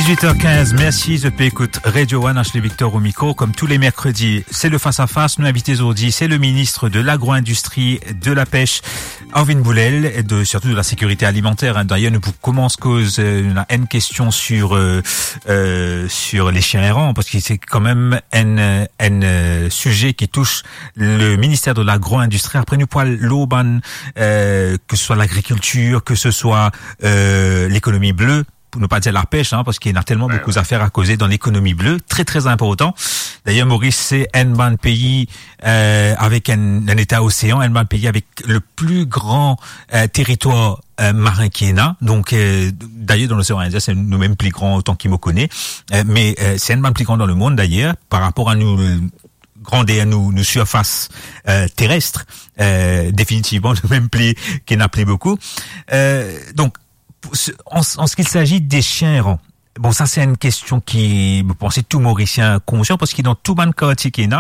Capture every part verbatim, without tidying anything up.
Dix-huit heures quinze, merci, zot pe ekout Radio One, Ashley Victor au micro. Comme tous les mercredis, c'est le Face à Face. Nou invite zordi, c'est le ministre de l'Agro-Industrie, de la Pêche, Arvin Boulel, et de, surtout de la sécurité alimentaire, hein. D'ailleurs, nou pou koumans koz, euh, nou ena enn kestion sur, euh, euh, sur les chiens errants, parce que c'est quand même un, euh, un, euh, sujet qui touche le ministère de l'Agro-Industrie. Après, nou pou al lor bann, euh, que ce soit l'agriculture, que ce soit, euh, l'économie bleue, pou nou pa dir lapêche, hein, parce qu'il y a tellement beaucoup d'affaires à causer dans l'économie bleue, très, très important. D'ailleurs, Maurice, c'est un bann pays, euh, avec un, un état océan, un bann pays avec le plus grand, euh, territoire, euh, marin qu'il y en a. Donc, euh, d'ailleurs, dans l'océan Indien, c'est nous-mêmes plus grand, autant qu'il me connaît. Euh, mais, euh, c'est un bann plus grand dans le monde, d'ailleurs, par rapport à nous, grandeur, nou, nou surface, euh, terrestre, euh, définitivement, nou mem pli, ki ena pli boukou. Euh, donc, pour ce, en, en ce qui s'agit des chiens errants, bon, sa se enn kestion ki, mo panse tou Morisien konsian, parski dan tou bann kartie ki ena,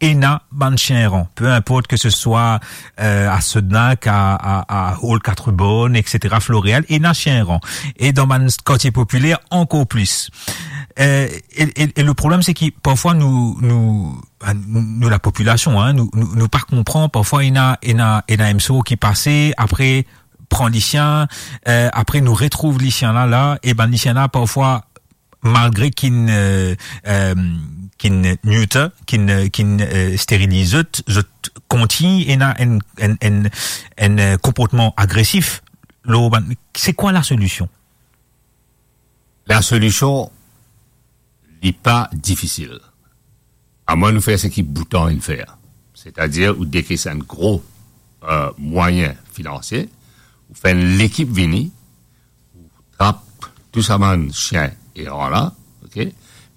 ena bann chien erran. Peu importe que ce soit, euh, à Senac, à, à, à Hall Quatre Bornes, et cetera, Floréal, ena chien erran. E dan bann kartie popiler, ankor plis. Euh, e, e, e le problem, se ki parfwa nou, nou, nou, lapopilasion, hein, nou, nou, nou pa konpran, parfwa ena, ena, ena M S O ki pase, apre pran lisien, euh, apre nou retrouv lisien la, la, e bann lisien la, parfwa, malgre ki'nn, euh, euh, ki'nn neuter, ki'nn, ki'nn, euh, steriliz zot, zot kontign ena enn, enn, enn, enn, euh, konportman agresif. Lo, bann, se kwa lasolision? Lasolision, li pa difisil. Amwin nou fer seki Bhutan inn fer. Setadir, ou dekes enn gro, euh, mwayin finansie, ou fer enn lekip vini, ou trap tou sa bann sien eran la, ok?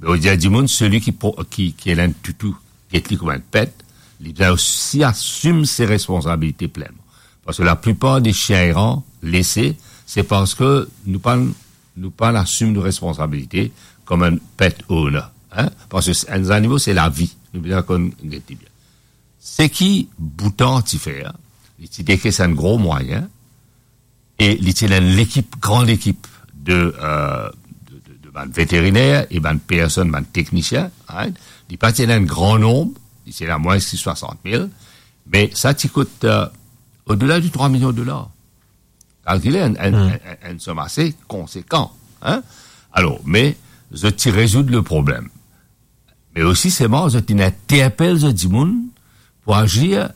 Me ou dir dimoun, seli ki po-, ki, ki ena enn toutou, get li kouma enn pet, li bizin osi asim se responsabilite plenman. Parski laplipar de sien eran lese, se parski nou pa, nou pa asim nou responsabilite kouma enn pet owner, hein? Parski enn zanimo, se lavi. Nou bizin konn get li bien. Seki Bhutan ti fer, li ti dekes enn gro mwayin, e li ti ena enn lekip, gran lekip de, euh, de, de, de bann veteriner e bann personn, bann teknisien, right? Li pa ti ena enn gran nonb, li ti ena mwins ki swasant mil, me sa ti kout, euh, odela de trwa milion dolar. Kalkile enn, enn, Hmm. enn, enn, enn som ase konsekan, hein? Alor, me zot ti rezoud le problem. Me osi, selman, zot inn interpel zot dimoun pou azir